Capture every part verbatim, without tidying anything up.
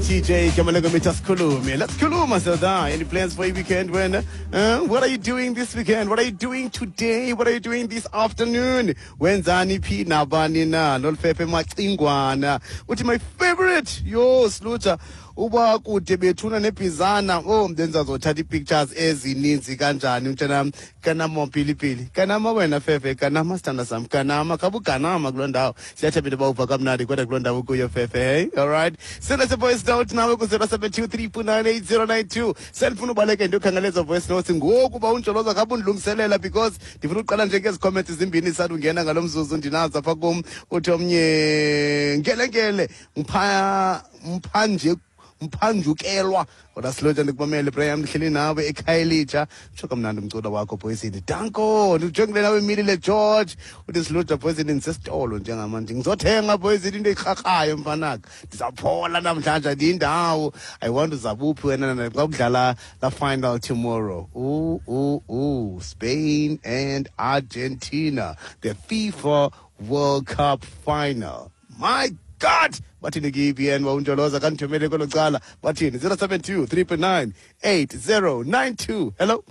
T J Kamalega Sikhulume. Let's khuluma Zelda. Any plans for your weekend when? Uh, what are you doing this weekend? What are you doing today? What are you doing this afternoon? Wenzani phi nabani na? Nolfefe Macingwana. Uthi my favorite. Yo Sluta. Uba kude bethuna nebhizana, oh, ndenzazothatha ii-pictures ezininzi kanjani mntanam. Kanama pilipili, kanama wena Fefe, kanama sithanda sam, kanama khabuganama kuloo ndawo. Siyathemba into yoba uva kamnandi kodwa kuloo ndawo kuyo Fefe. Hey, alright, send us a voice note nawe ku-zero seven two three nine eight zero nine two. Sendifuna ubaleke ndiyokhangela ezo voice notes ngoku uba uNjoloza khabe undilungiselela, because ndifuna uqala nje ngezi comments zimbini zisandungena ngalo mzuzu ndinazo apha kum. Uthi omnye, ngelengele mpha mphanje mphanjukelwa kodwa silotsha. Ndikumamele Braham, ndihleli nawe eKhayelitsha. Tsho kamnandi umculo wakho Poison, danko. Ndijongile nawe Milile George. Uthi silotsha Poison, ndisesitolo njengamanje, ngizothenga Poison into ekrhakrayo mfanaka, ndizawuphola namhlanje, andiyindawo. I want uzabuphi wena xa kudlala la final tomorrow? Ooh, ooh, ooh, Spain and Argentina, the FIFA World Cup final. My God, bathini ke-E B N wawunjoloza kandithumele kwelo cala? Bathini? zero seven two, three nine eight zero nine two. Hello.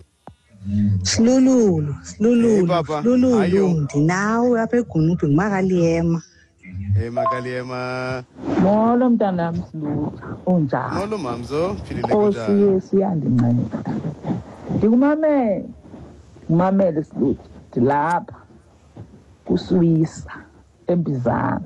Silululu, Hey, silululu, papa. silululu, Ayo. Ndinawe apha eGunubi, ngumakaliyema. Hey makaliyema. Molo mntanam Silutha, unjani? Molo mamzo, philile. Nkosi Kunjani? Yesu iyandinceda. Ndikumamele, ndikumamele Silutha, ndilapha kuSwisa eMbizana.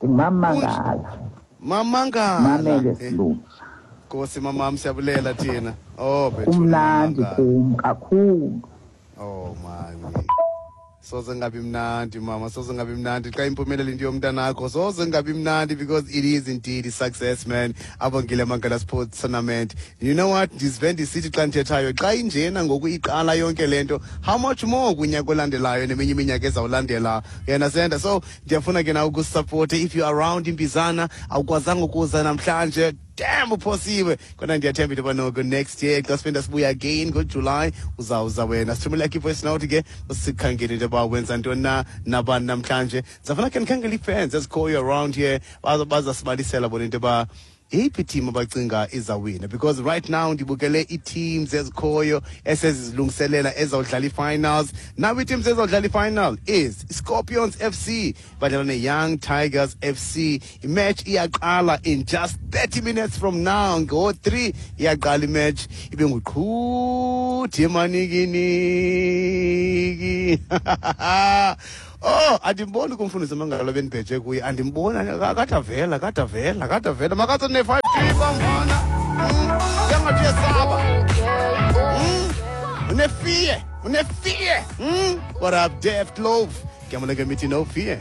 Ndingumamangala, Mamangala. mamele Eh, Silutha. Nkosi mamam, siyabulela thina. Oh bethuna. Kumnandi Mamangala. kum kakhulu. Oh mami, soze ngabi mnandi mama, soze ngabi mnandi xa impumelelo into yomntanakho, soze ngabi mnandi, because it is indeed a success, man. Abongile Mangala Sports Tournament. You know what, ndizive ndisithi xa ndithethayo, xa injena ngoku iqala yonke le nto, how much more kunyaka olandelayo neminye iminyaka ezawulandela yena senda. So ndiyafuna ke na ukusupporta if you around iMbizana. Awukwazanga ukuza namhlanje, damn, uphosiwe, kodwa ndiyathemba into yoba noko next year xa siphinda sibuya again ngoJuly uzawuza wena. Sithumela yakho i-voice note ke, usikhangele into yoba wenza ntoni na nabani namhlanje. Ndizafuna khe ndikhangele ii-fans ezikhoyo around here, baza bazasibalisela bona into yoba yeyiphi team abacinga izawina, because right now ndibukele ii-teams ezikhoyo esezizilungiselela ezawudlala ii-finals. Now ii-teams ezawudlala i-final is Scorpions F C badlala ne-Young Tigers F C. Imatch iyaqala in just thirty minutes from now, ngo-three iyaqala imatch, ibe nguqhuthi emanikiniki. Oh, andimboni kumfundisi Mangalo bendibheje kuye, andimboni. Akade avela, akade avela, akade avela. Makathi ne-five G bamfana. Yangathi uyesaba. Une-fear, une-fear. Mm. What up, Deft Love? Ke no fear.